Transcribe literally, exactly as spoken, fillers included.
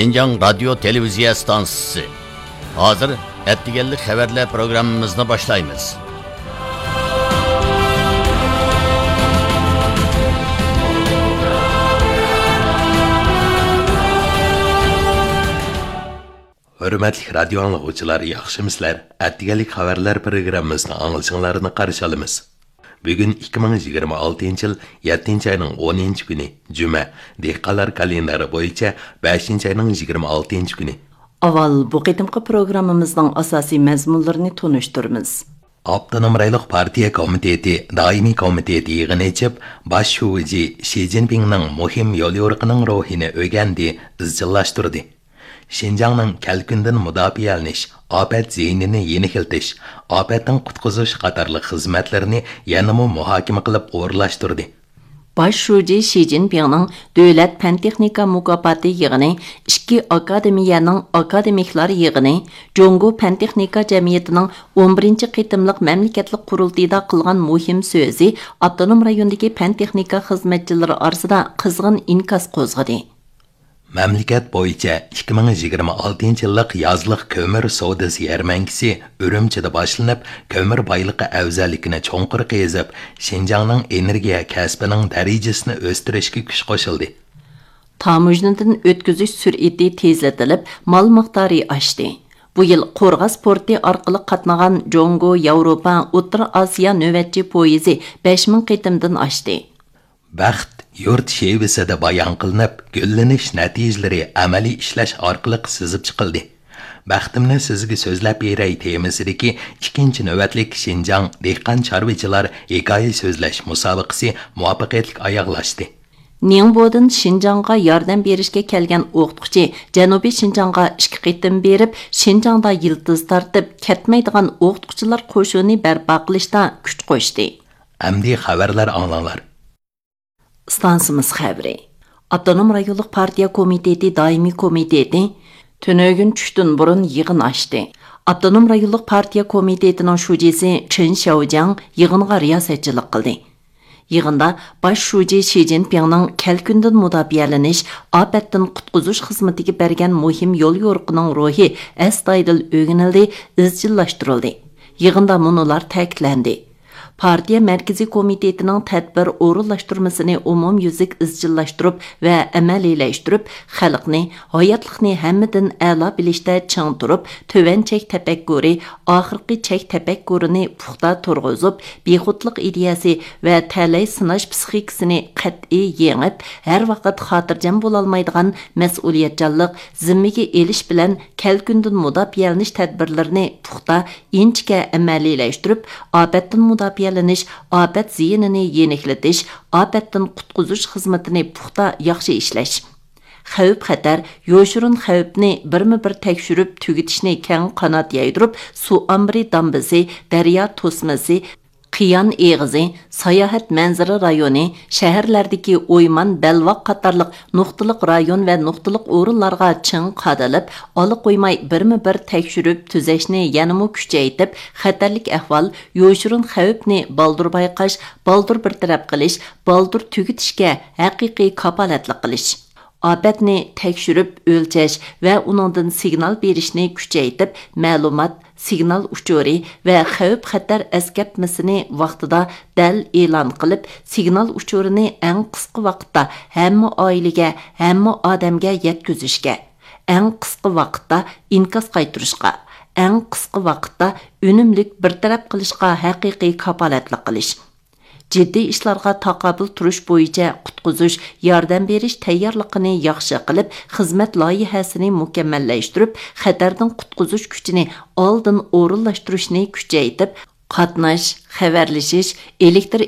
شىنجاڭ رادىيو تېلېۋىزىيە ئىستانسىسى. ھازىر ئەتىگەنلىك خەۋەرلەر پروگراممىمىزنى باشلايمىز. ھۆرمەتلىك رادىيو ئاڭلىغۇچىلار، ياخشىمۇسىلەر؟ ئەتىگەنلىك خەۋەرلەر پروگراممىسىنى ئاڭلىشىڭلارنى قارشى ئالىمىز. بۈگۈن ئىككى مىڭ يىگىرمە ئالتىنچى يىل يەتتىنچى ئاينىڭ ئونىنچى كۈنى، جۈمە، دېھقانلار كالېندارى بويىچە بەشىنچى ئاينىڭ يىگىرمە ئالتىنچى كۈنى. ئاۋۋال بۇ قېتىمقى پروگراممىمىزنىڭ ئاساسىي مەزمۇنلىرىنى تونۇشتۇرىمىز. ئاپتونوم رايونلۇق پارتىيە كومىتېتى دائىمىي كومىتېتى يىغىن ئېچىپ، باش شۇجى شى جىنپىڭنىڭ مۇھىم يوليورۇقىنىڭ روھىنى ئۆگەندى، ئىزچىللاشتۇردى. شىنجاڭنىڭ كەلكۈندىن مۇداپىئەلىنىش، ئاپەت زىيىنىنى يېنىكلىتىش، ئاپەتتىن قۇتقۇزۇش قاتارلىق خىزمەتلىرىنى يەنىمۇ مۇھاكىمە قىلىپ ئورۇنلاشتۇردى. باش شۇجى شى جىنپىڭنىڭ دۆلەت پەن-تېخنىكا مۇكاپاتى يىغىنى ئىككى ئاكادېمىيەنىڭ ئاكادېمىكلار يىغىنى، جۇڭگو پەن-تېخنىكا جەمئىيىتىنىڭ ئون بىرىنچى قېتىملىق مەملىكەتلىك قۇرۇلتىيىدا قىلغان مۇھىم سۆزى ئاپتونوم رايوندىكى پەن-تېخنىكا خىزمەتچىلىرى ئارىسىدا قىزغىن ئىنكاس قوزغىدى. مەملىكەت بويىچە ئىككى مىڭ يىگىرمە ئالتىنچى يىللىق يازلىق كۆمۈر سودىسى يەرمەنكىسى ئۈرۈمچىدە باشلىنىپ، كۆمۈر بايلىقى ئەۋزەللىكىنى چوڭقۇر قېزىپ، شىنجاڭنىڭ ئېنېرگىيە كەسپىنىڭ دەرىجىسىنى ئۆستۈرۈشكە كۈچ قوشۇلدى. تاموژنىدىن ئۆتكۈزۈش سۈرئىتى تېزلىتىلىپ، مال مىقدارى ئاشتى. بۇ يىل قورغاس پورتى ئارقىلىق قاتنىغان جۇڭگو، ياۋروپا، ئوتتۇرا ئاسىيا نۆۋەتچى پويىزى بەش مىڭ قېتىمدىن ئاشتى. بەخت يۇرت شېۋىسىدە بايان قىلىنىپ، گۈللىنىش نەتىجىلىرى ئەمەلىي ئىشلەش ئارقىلىق سىزىپ چىقىلدى. بەختىمنى سىزگە سۆزلەپ بېرەي تېمىسىدىكى ئىككىنچى نۆۋەتلىك شىنجاڭ دېھقان چارۋىچىلار ھېكايە سۆزلەش مۇسابىقىسى مۇۋەپپەقىيەتلىك ئاياغلاشتى. نىڭبودىن شىنجاڭغا ياردەم بېرىشكە كەلگەن ئوقۇتقۇچى جەنۇبىي شىنجاڭغا ئىككى قېتىم بېرىپ، شىنجاڭدا يىلتىز تارتىپ، كەتمەيدىغان ئوقۇتقۇچىلار قوشۇنى بەرپا قىلىشتا كۈچ قوشتى. ئەمدى خەۋەرلەر ئاڭلاڭلار. ئىستانسىمىز خەۋىرى. ئاپتونوم رايونلۇق پارتىيە كومىتېتى دائىمىي كومىتېتى تۈنۈگۈن چۈشتىن بۇرۇن يىغىن ئاچتى. ئاپتونوم رايونلۇق پارتىيە كومىتېتىنىڭ شۇجىسى چېن شياۋجياڭ يىغىنغا رىياسەتچىلىك قىلدى. يىغىندا باش شۇجى شى جىنپىڭنىڭ كەلكۈندىن مۇداپىئەلىنىش، ئاپەتتىن قۇتقۇزۇش خىزمىتىگە بەرگەن مۇھىم يوليورۇقىنىڭ روھى ئەستايىدىل ئۆگىنىلدى، ئىزچىللاشتۇرۇلدى. يىغىندا مۇنۇلار تەكىتلەندى. پارتىيە مەركىزىي كومىتېتىنىڭ تەدبىر ئورۇنلاشتۇرمىسىنى ئومۇميۈزلۈك ئىزچىللاشتۇرۇپ ۋە ئەمەلىيلەشتۈرۈپ، خەلقنى، ھاياتلىقنى ھەممىدىن ئەلا بىلىشتە چىڭ تۇرۇپ، تۆۋەن چەك تەپەككۇرى، ئاخىرقى چەك تەپەككۇرىنى پۇختا تۇرغۇزۇپ، بىخۇدلۇق ئىدىيەسى ۋە تەلەي سىناش پىسخىكىسىنى قەتئىي يېڭىپ، ھەر ۋاقىت خاتىرجەم بولالمايدىغان مەسئۇلىيەتچانلىق، زىممىگە ئېلىش بىلەن كەلكۈندىن مۇداپىئەلىنىش تەدبىرلىرىنى پۇختا، ئىنچىكە ئەمەلىيلەشتۈرۈپ، ئاپەتتىن مۇداپىئەلىنىش، ئاپەت زىيىنىنى يېنىكلىتىش، ئاپەتتىن قۇتقۇزۇش خىزمىتىنى پۇختا، ياخشى ئىشلەش. خەۋپ-خەتەر، يوشۇرۇن خەۋپنى بىرمۇ بىر تەكشۈرۈپ تۈگىتىشنى كەڭ قانات يايدۇرۇپ، سۇ ئامبىرى دامبىسى، دەريا توسمىسى، قىيان ئېغىزى، ساياھەت مەنزىرە رايونى، شەھەرلەردىكى ئويمان، بەلباغ قاتارلىق نۇقتىلىق رايون ۋە نۇقتىلىق ئورۇنلارغا چىڭ قادىلىپ، ئالا قويماي بىرمۇ بىر تەكشۈرۈپ تۈزەشنى يەنىمۇ كۈچەيتىپ، خەتەرلىك ئەھۋال، يوشۇرۇن خەۋپنى بالدۇر بايقاش، بالدۇر بىر تەرەپ قىلىش، بالدۇر تۈگىتىشكە ھەقىقىي كاپالەتلىك قىلىش. ئاپەتنى تەكشۈرۈپ ئۆلچەش ۋە ئۇنىڭدىن سىگنال بېرىشنى كۈچەيتىپ، مەلۇمات، سىگنال ئۇچۇرى ۋە خەۋپ-خەتەر ئەسكەرتمىسىنى ۋاقتىدا دەل ئېلان قىلىپ، سىگنال ئۇچۇرىنى ئەڭ قىسقا ۋاقىتتا ھەممە ئائىلىگە، ھەممە ئادەمگە يەتكۈزۈشكە، ئەڭ قىسقا ۋاقىتتا ئىنكاس قايتۇرۇشقا، ئەڭ قىسقا ۋاقىتتا ئۈنۈملۈك بىر تەرەپ قىلىشقا ھەقىقىي كاپالەتلىك قىلىش. جىددىي ئىشلارغا تاقابىل تۇرۇش بويىچە قۇتقۇزۇش، ياردەم بېرىش تەييارلىقىنى ياخشى قىلىپ، خىزمەت لايىھەسىنى مۇكەممەللەشتۈرۈپ، خەتەردىن قۇتقۇزۇش كۈچىنى ئالدىن ئورۇنلاشتۇرۇشنى كۈچەيتىپ، قاتناش، خەۋەرلىشىش، ئېلېكتىر